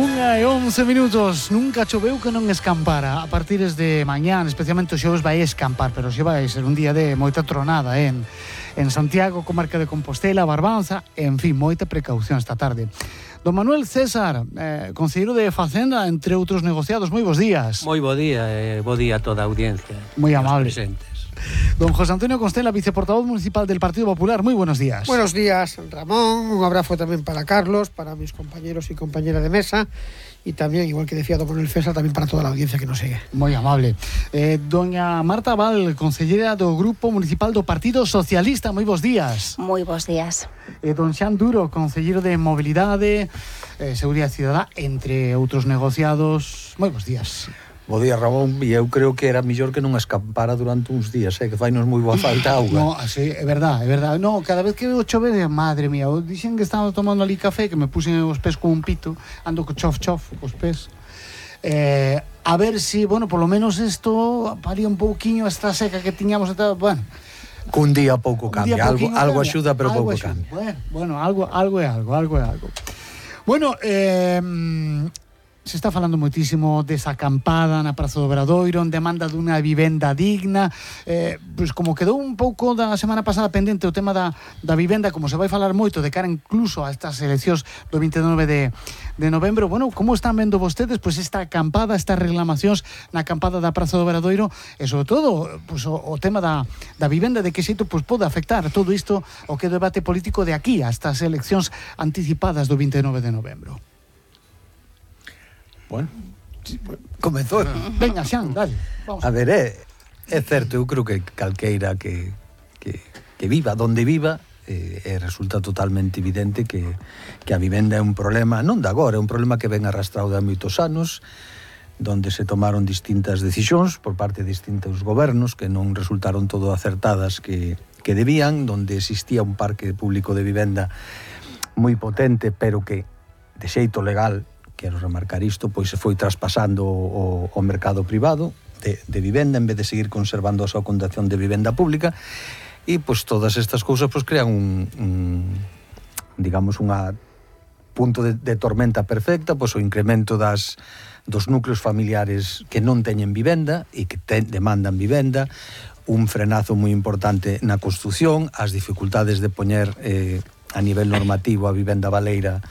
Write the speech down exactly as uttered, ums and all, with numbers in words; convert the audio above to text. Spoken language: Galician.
Unha e once minutos. Nunca choveu que non escampara. A partir de mañán, especialmente o xoves, vai escampar, pero xe vai ser un día de moita tronada, eh? en, en Santiago, comarca de Compostela, Barbanza, en fin, moita precaución esta tarde. Don Manuel César, eh, conselleiro de Facenda, entre outros negociados, moi bons días. Moi bo día, e eh, bo día a toda a audiencia. Moi amable. Presentes. Don José Antonio Constela, viceportavoz municipal del Partido Popular, muy buenos días. Buenos días, Ramón, un abrazo también para Carlos, para mis compañeros y compañeras de mesa y también, igual que decía don Manuel César, también para toda la audiencia que nos sigue. Muy amable. Eh, doña Marta Val, consellera do Grupo Municipal do Partido Socialista, moi bons días. Moi bons días. Eh, don Xan Duro, consellero de Mobilidade, eh, Seguridade Cidadá, entre outros negociados, moi bons días. Bo día, Ramón, e eu creo que era mellor que non escampara durante uns días, eh, que fainos moi boa falta auga. No, sí, é verdad, é verdad. No, cada vez que veo chover, madre mía, dixen que estaba tomando ali café, que me puxen os pés con un pito, ando co chof chof cos pés. Eh, a ver si, bueno, por lo menos isto paría un pouquiño esta seca que tiñamos e tal, bueno. Cun día pouco cambia, algo, algo axuda, pero algo pouco axuda. cambia. Bueno, bueno, algo, algo é algo, algo é algo. Bueno, eh... se está falando moitísimo desa acampada na Praza do Obradoiro en demanda dunha vivenda digna, eh, pois como quedou un pouco da semana pasada pendente o tema da, da vivenda, como se vai falar moito de cara incluso a estas eleccións do vinte e nove de, de novembro, bueno, como están vendo vostedes pois esta acampada, estas reclamacións na acampada da Praza do Obradoiro e sobre todo pois, o, o tema da, da vivenda, de que xeito pois, pode afectar todo isto o que é o debate político de aquí a estas eleccións anticipadas do vinte e nove de novembro? Bueno, comezou. Venga, Xan, dale. Vamos. A ver, é, é certo, eu creo que calqueira que, que, que viva donde viva, eh, eh, resulta totalmente evidente que, que a vivenda é un problema, non de agora, é un problema que ven arrastrado de moitos anos, donde se tomaron distintas decisións por parte de distintos gobernos que non resultaron todo acertadas que, que debían, donde existía un parque público de vivenda moi potente, pero que de xeito legal, quero remarcar isto, pois se foi traspasando o, o mercado privado de, de vivenda en vez de seguir conservando a súa condición de vivenda pública e pois todas estas cousas pois crean un, un digamos unha punto de, de tormenta perfecta, pois o incremento das dos núcleos familiares que non teñen vivenda e que ten, demandan vivenda, un frenazo moi importante na construción, as dificultades de poñer eh, a nivel normativo a vivenda baleira